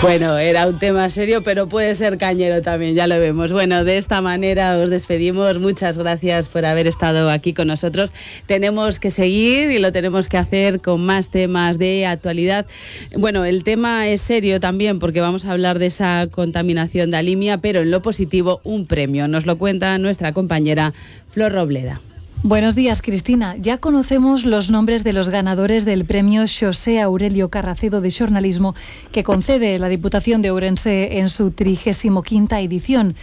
Bueno, era un tema serio, pero puede ser cañero también, ya lo vemos. Bueno, de esta manera os despedimos. Muchas gracias por haber estado aquí con nosotros. Tenemos que seguir y lo tenemos que hacer con más temas de actualidad. Bueno, el tema es serio también porque vamos a hablar de esa contaminación de Alimia, pero en lo positivo, un premio. Nos lo cuenta nuestra compañera Flor Robleda. Buenos días, Cristina. Ya conocemos los nombres de los ganadores del premio Xosé Aurelio Carracedo de Xornalismo que concede la Diputación de Ourense en su 35ª edición.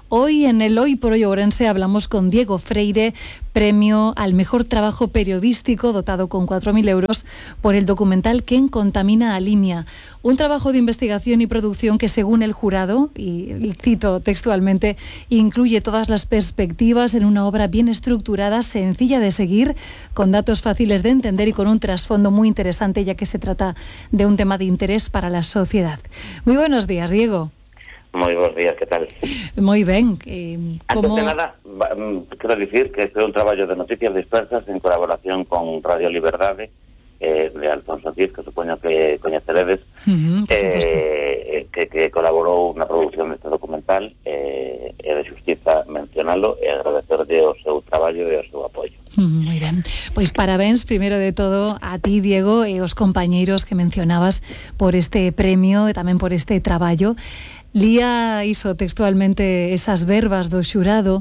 Hoy en el Hoy por Hoy Ourense hablamos con Diego Freire, premio al mejor trabajo periodístico dotado con 4.000 euros por el documental ¿Quién contamina Alimia? Un trabajo de investigación y producción que, según el jurado, y cito textualmente, incluye todas las perspectivas en una obra bien estructurada, sencilla de seguir, con datos fáciles de entender y con un trasfondo muy interesante, ya que se trata de un tema de interés para la sociedad. Muy buenos días, Diego. Moi bons días, que tal? Moi ben. Antes de nada, quero dicir que este é un traballo de noticias dispersas en colaboración con Radio Liberdade, de Alfonso Cid, que supoño que coñeceredes, que colaborou na produción deste documental, e de xustiza mencionalo e agradecerlle o seu traballo e o seu apoio. Moi ben. Pois parabéns, primeiro de todo, a ti, Diego, e os compañeiros que mencionabas por este premio e tamén por este traballo. Lía iso textualmente esas verbas do xurado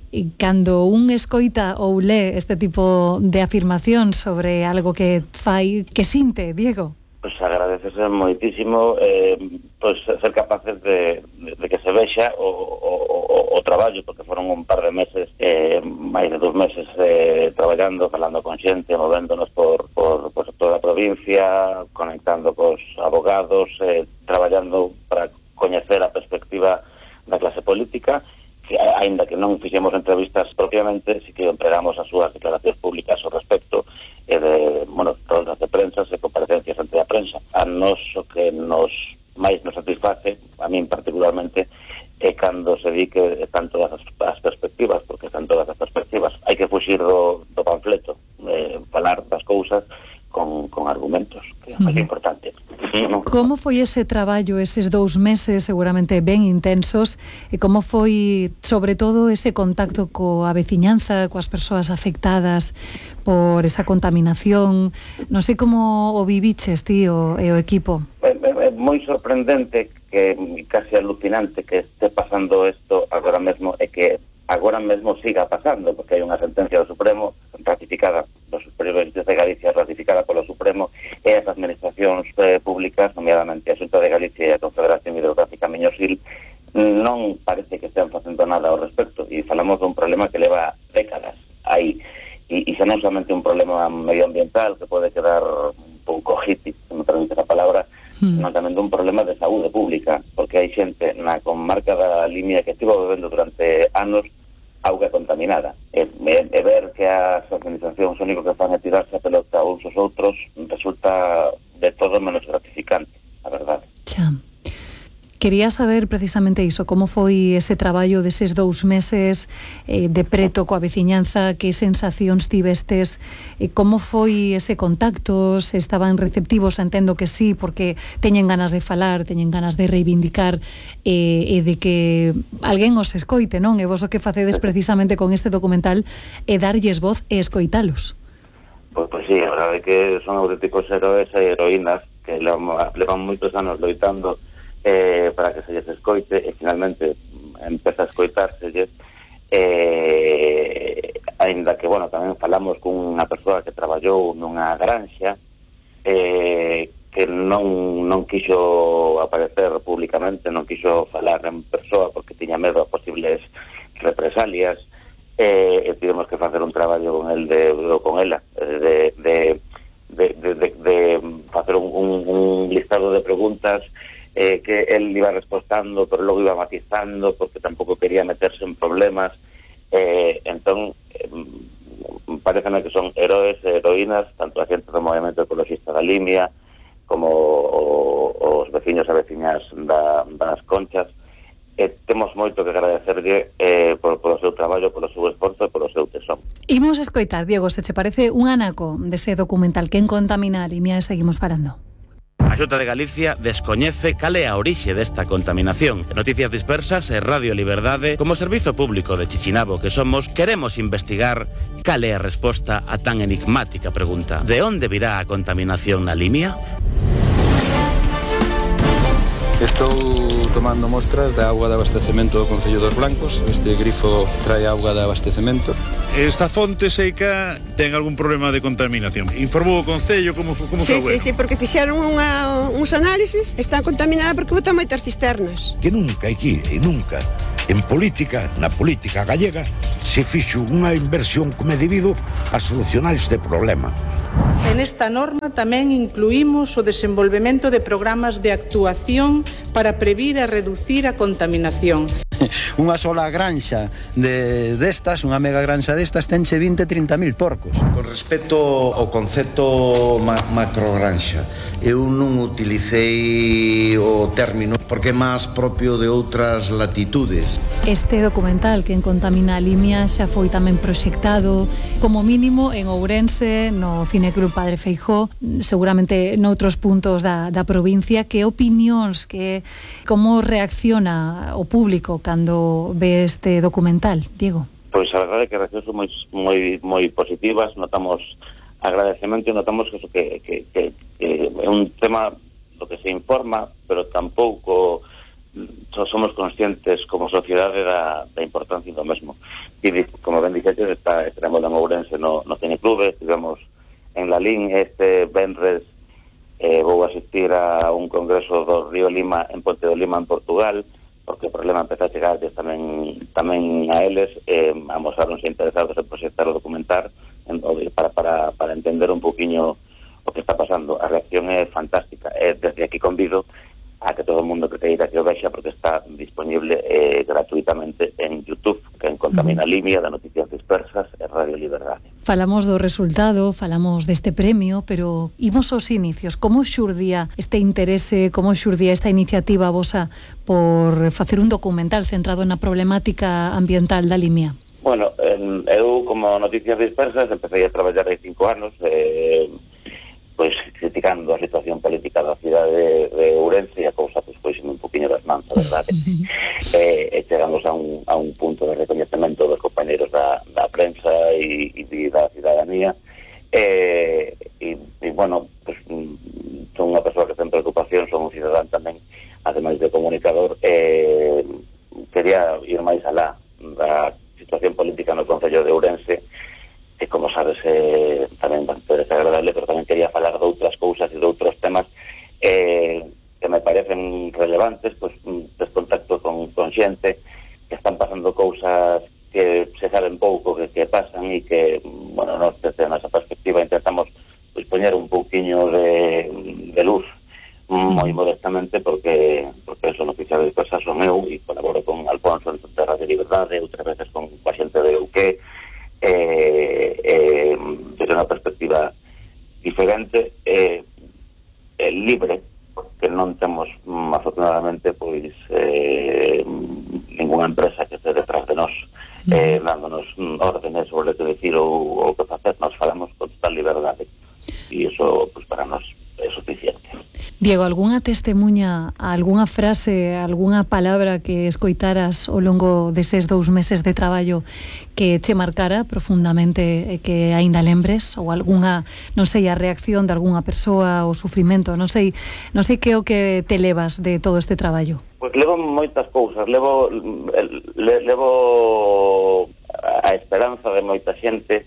e cando un escoita ou lee este tipo de afirmación sobre algo que fai, que sinte, Diego? Pois agradecese moitísimo ser capaces de que se vexa o traballo, porque foron un par de meses, máis de 2 meses traballando, falando con xente, movéndonos por toda a provincia, conectando cos abogados, traballando para coñecer a perspectiva da clase política, que aínda que non fixemos entrevistas propiamente, si que empregamos as súas declaracións públicas ao respecto e de, rodas de prensa e comparecencias ante a prensa. A nos o que máis nos satisface, a min particularmente, é cando se di que están todas as perspectivas, porque están todas as perspectivas. Hai que fuxir do panfleto, falar das cousas con argumentos, que é moi importante. Como foi ese traballo, eses 2 meses seguramente ben intensos, e como foi, sobre todo, ese contacto coa veciñanza, coas persoas afectadas por esa contaminación? Non sei como o viviches ti e o equipo. É moi sorprendente, que casi alucinante que este pasando isto agora mesmo, e que agora mesmo siga pasando, porque hai unha sentencia do Supremo ratificada do Superior de Galicia, ratificada polo Supremo, e as administracións públicas, nomeadamente a Xunta de Galicia e a Confederación Hidrográfica Miñosil, non parece que estén facendo nada ao respecto, e falamos dun problema que leva décadas aí, e xa non somente un problema medioambiental que pode quedar un pouco hippie, se me permite a palabra, non tamén dun problema de saúde pública, porque hai xente na comarca da Alimia que estivo bebendo durante anos auga contaminada. E ver que as organizacións o único que fan é tirarse a pelota uns aos outros resulta de todo menos gratificante, a verdade. Quería saber precisamente iso, como foi ese traballo deses 2 meses de preto coa veciñanza, que sensacións tivestes, como foi ese contacto, se estaban receptivos, entendo que sí, porque teñen ganas de falar, teñen ganas de reivindicar e de que alguén os escoite, non? E vos o que facedes precisamente con este documental é darlles voz e escoitalos. Pois sí, a verdade é que son auténticos heróis e heroínas que levan moitos anos loitando para que se lles escoite, e finalmente empeza a escoitárselles, aínda que, tamén falamos cunha persoa que traballou nunha granxa, que non quixo aparecer públicamente, non quixo falar en persoa porque tiña medo a posibles represalias, e tivemos que facer un traballo con el con ela, de facer un listado de preguntas que él iba respostando, pero logo iba matizando, porque tampouco quería meterse en problemas. Entón, pareceme que son heróis e heroínas, tanto a xente do movimento ecologista da Alimia, como os veciños e veciñas das Conchas. Temos moito que agradecerlle polo seu traballo, polo seu esforzo e polo seu tesón. Imos escoitar, Diego, se che parece un anaco dese documental Quen contamina Alimia, e seguimos falando. A Xunta de Galicia descoñece cal é a orixe desta contaminación. Noticias Dispersas e Radio Liberdade, como servizo público de Chichinabo que somos, queremos investigar cal é a resposta a tan enigmática pregunta. De onde virá a contaminación na Limia? Estou tomando mostras da auga de abastecemento do Concello dos Blancos. Este grifo trae auga de abastecemento. Esta fonte seca ten algún problema de contaminación. Informou o Concello como sí, sí, porque fixeron uns análisis, está contaminada porque botan moitas cisternas. Que nunca aquí e nunca en política, na política gallega, se fixo unha inversión como é debido a solucionar este problema. En esta norma tamén incluímos o desenvolvemento de programas de actuación para previr e reducir a contaminación. Unha sola granxa destas, unha mega granxa destas, tenche 20-30.000 porcos. Con respecto ao concepto macrogranxa, eu non utilicei o término porque é máis propio de outras latitudes. Este documental que en Contamina a Limia xa foi tamén proxectado como mínimo en Ourense, no Cineclub Padre Feijóo, seguramente noutros puntos da provincia. Que opinións, como reacciona o público cando ve este documental, Diego? Pois a verdade é que reaccións son moi positivas, notamos agradecemento e notamos que é un tema do que se informa, pero tampouco somos conscientes como sociedade da importancia do mesmo. E como ben dixetes, estaremos en Ourense no Cineclub, estivemos en Lalín este venres, vou asistir a un congreso do Río Lima en Ponte do Lima en Portugal, porque o problema empezou a chegar tamén a eles, amosaronse interesados en proxectar o documentar para entender un poquinho o que está pasando. A reacción é fantástica, desde aquí convido a que todo o mundo que queira que o vexa, porque está disponible gratuitamente en YouTube, que en Contamina Limia, de Noticias Dispersas e Radio Liberdade. Falamos do resultado, falamos deste premio, pero imos aos inicios. Como xurdía este interese, como xurdía esta iniciativa vosa por facer un documental centrado na problemática ambiental da Limia? Bueno, eu como Noticias Dispersas empecé a traballar hai 5 anos, pois criticando a situación política da cidade de Ourense, e a cousa pois un poquinho das mans, a verdade. E chegamos a un punto de reconhecemento dos compañeros da prensa e da cidadanía, e bueno, pues, son unha persoa que ten preocupación, son un cidadán tamén, ademais de comunicador, quería ir máis alá da situación política no Concello de Ourense, que como sabes tamén bastante desagradable, pero tamén quería falar de outras cousas e de outros temas que me parecen relevantes, pues des contacto con xente que están pasando cousas que se saben pouco que pasan e que, bueno, nos desde a nosa perspectiva intentamos pues poñer un pouquiño de luz moi modestamente, porque eso Noticias Dispersas son eu e colaboro con Alfonso de Radio Liberdade, outras veces con a xente de UQ, desde unha perspectiva diferente, libre, porque non temos afortunadamente pois ninguna empresa que este detrás de nós dándonos órdenes sobre o que decir ou o que facer. Nos falamos con total liberdade e iso pois para nós é suficiente. Diego, algunha testemunha, algunha frase, algunha palabra que escoitaras ao longo deses 2 meses de traballo que che marcara profundamente e que aínda lembres, ou algunha, non sei, a reacción de algunha persoa, o sufrimento, non sei que é o que te levas de todo este traballo? Pois levo moitas cousas, levo a esperanza de moita xente,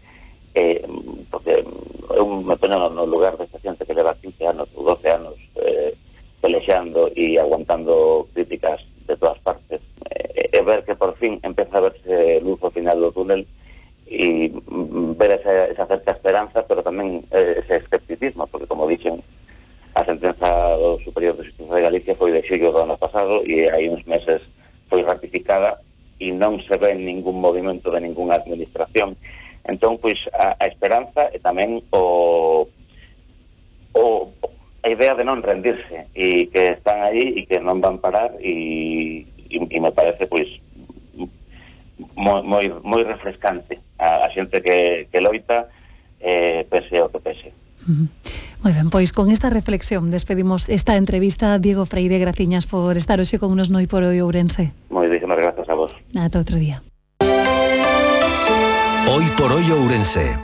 porque eu me poño no lugar desta xente que leva 15 anos ou 12 anos pelexando e aguantando críticas de todas partes, e ver que por fin empeza a verse luz ao final do túnel e ver esa certa esperanza, pero tamén ese escepticismo, porque como dixen, a sentenza do Superior de Xustiza de Galicia foi de xullo do ano pasado e hai uns meses foi ratificada e non se ve ningún movimento de ninguna administración. Entón, pois, a esperanza e tamén a idea de non rendirse e que están aí e que non van parar e me parece, pois, moi refrescante a xente que loita, pese ao que pese. Moi ben, pois con esta reflexión despedimos esta entrevista. Diego Freire, graciñas por estar hoxe con nos no Hoy por Hoy Ourense. Moitísimas grazas a vos. Ata outro día. Hoy por Hoy Ourense.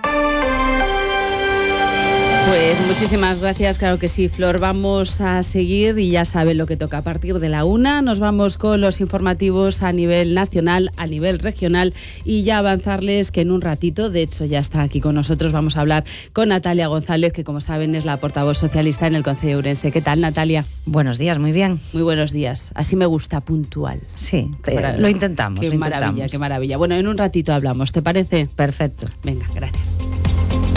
Pues muchísimas gracias, claro que sí, Flor. Vamos a seguir y ya saben lo que toca. A partir de la 1 nos vamos con los informativos a nivel nacional, a nivel regional, y ya avanzarles que en un ratito, de hecho ya está aquí con nosotros, vamos a hablar con Natalia González, que como saben es la portavoz socialista en el Concello de Ourense. ¿Qué tal, Natalia? Buenos días, muy bien. Muy buenos días. Así me gusta, puntual. Sí, lo intentamos. Qué maravilla, qué maravilla. Bueno, en un ratito hablamos, ¿te parece? Perfecto. Venga, gracias.